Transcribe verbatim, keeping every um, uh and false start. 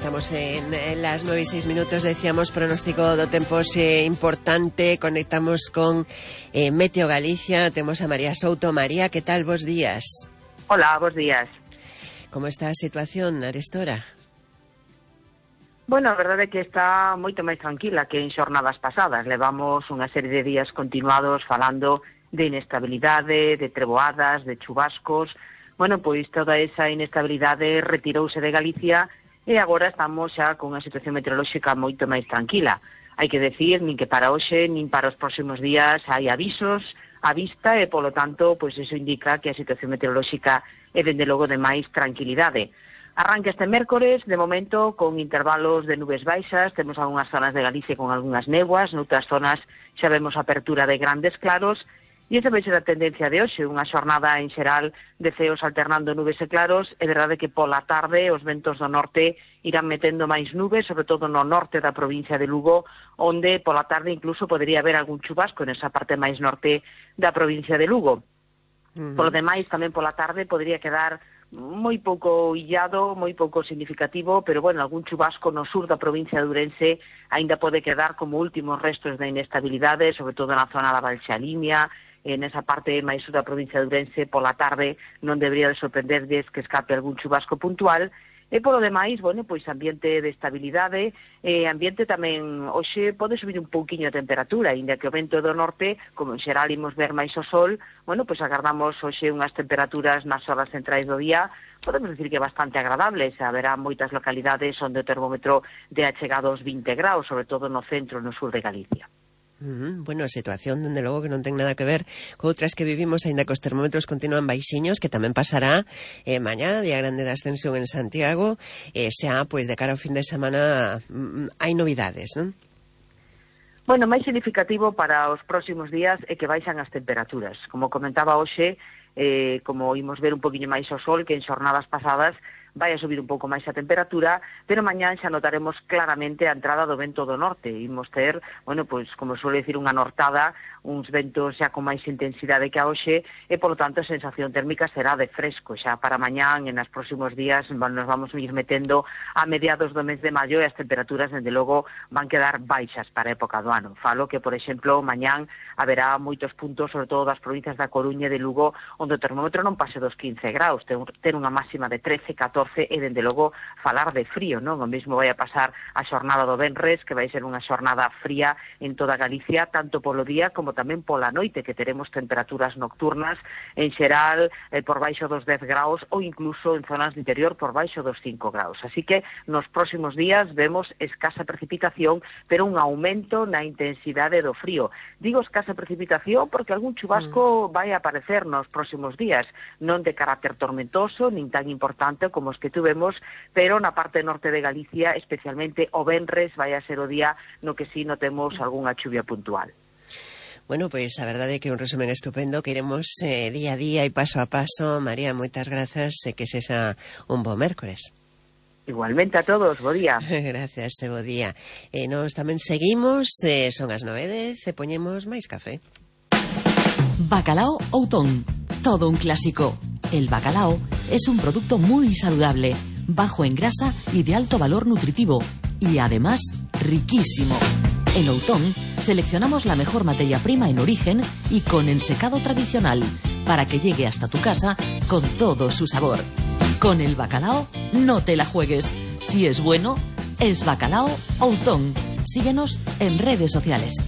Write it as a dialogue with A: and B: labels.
A: estamos en, en las nueve y seis minutos, decíamos, pronóstico do tempo é importante. Conectamos con eh, Meteo Galicia. Temos a María Souto. María, que tal? Bos días.
B: Hola, bos días.
A: Como está a situación arestora?
B: Bueno, a verdade é que está moito máis tranquila que en xornadas pasadas. Levamos unha serie de días continuados falando de inestabilidade, de treboadas, de chubascos. Bueno, pois toda esa inestabilidade retirouse de Galicia e agora estamos xa con unha situación meteorolóxica moito máis tranquila. Hai que decir, nin que para hoxe, nin para os próximos días hai avisos á vista e, polo tanto, pois iso indica que a situación meteorolóxica é, dende logo, de máis tranquilidade. Arranca este mércores, de momento, con intervalos de nubes baixas. Temos algunhas zonas de Galicia con algunhas néboas, noutras zonas xa vemos apertura de grandes claros. E esa vai ser a tendencia de hoxe, unha xornada en xeral de ceos alternando nubes e claros. É verdade que pola tarde os ventos do norte irán metendo máis nubes, sobre todo no norte da provincia de Lugo, onde pola tarde incluso podería haber algún chubasco nesa parte máis norte da provincia de Lugo. Uh-huh. Polo demais, tamén pola tarde podría quedar moi pouco illado, moi pouco significativo, pero, bueno, algún chubasco no sur da provincia de Ourense aínda pode quedar como últimos restos da inestabilidade, sobre todo na zona da Valxalimia. En esa parte máis sur da provincia de Ourense, pola tarde non debería de sorprenderdes que escape algún chubasco puntual. E polo demais, bueno, pois ambiente de estabilidade, e ambiente tamén, hoxe pode subir un pouquiño a temperatura, ainda que o vento do norte, como en xeral imos ver máis o sol, bueno, pois agardamos hoxe unhas temperaturas nas horas centrais do día, podemos decir que bastante agradables. Haberá moitas localidades onde o termómetro de achegado aos vinte graus, sobre todo no centro e no sur de Galicia.
A: Uh-huh. Bueno, a situación, dende logo, que non ten nada que ver con outras que vivimos, aínda que os termómetros continúan baixiños, que tamén pasará eh, mañá, día grande da ascensión en Santiago, e eh, xa, pois, de cara ao fin de semana mm, hai novidades, non?
B: Bueno, máis significativo para os próximos días é que baixan as temperaturas. Como comentaba hoxe, eh, como imos ver un poquinho máis o sol que en xornadas pasadas, vai a subir un pouco máis a temperatura, pero mañán xa notaremos claramente a entrada do vento do norte. Imos ter, bueno, pois, como suele decir, unha nortada, uns ventos xa con máis intensidade que a hoxe, e, polo tanto, a sensación térmica será de fresco. Xa para mañán, en os próximos días, nos vamos a ir metendo a mediados do mes de maio e as temperaturas, dende logo, van quedar baixas para a época do ano. Falo que, por exemplo, mañán haberá moitos puntos, sobre todo das provincias da Coruña e de Lugo, onde o termómetro non pase dos quince graus, ter unha máxima de trece, catorce, e, dende logo, falar de frío, non? O mesmo vai a pasar a xornada do venres, que vai ser unha xornada fría en toda Galicia, tanto polo día como tamén pola noite, que teremos temperaturas nocturnas en xeral eh, por baixo dos dez graus ou incluso en zonas do interior por baixo dos cinco graus. Así que nos próximos días vemos escasa precipitación, pero un aumento na intensidade do frío. Digo escasa precipitación porque algún chubasco mm. vai a aparecer nos próximos días, non de carácter tormentoso, nin tan importante como os que tuvemos, pero na parte norte de Galicia, especialmente o venres, vai a ser o día no que sí notemos algunha chuvia puntual.
A: Bueno, pois pues, a verdade é que é un resumen estupendo que iremos eh, día a día e paso a paso. María, moitas grazas e que sexa un bo mércores.
B: Igualmente a todos, bo día.
A: Gracias, e bo día. E nos tamén seguimos, eh, son as nove e dez e poñemos máis café.
C: Bacalao Outón, todo un clásico. El bacalao es un producto muy saludable, bajo en grasa y de alto valor nutritivo, y además riquísimo. En Outón seleccionamos la mejor materia prima en origen y con ensecado tradicional para que llegue hasta tu casa con todo su sabor. Con el bacalao no te la juegues. Si es bueno, es Bacalao Outón. Síguenos en redes sociales.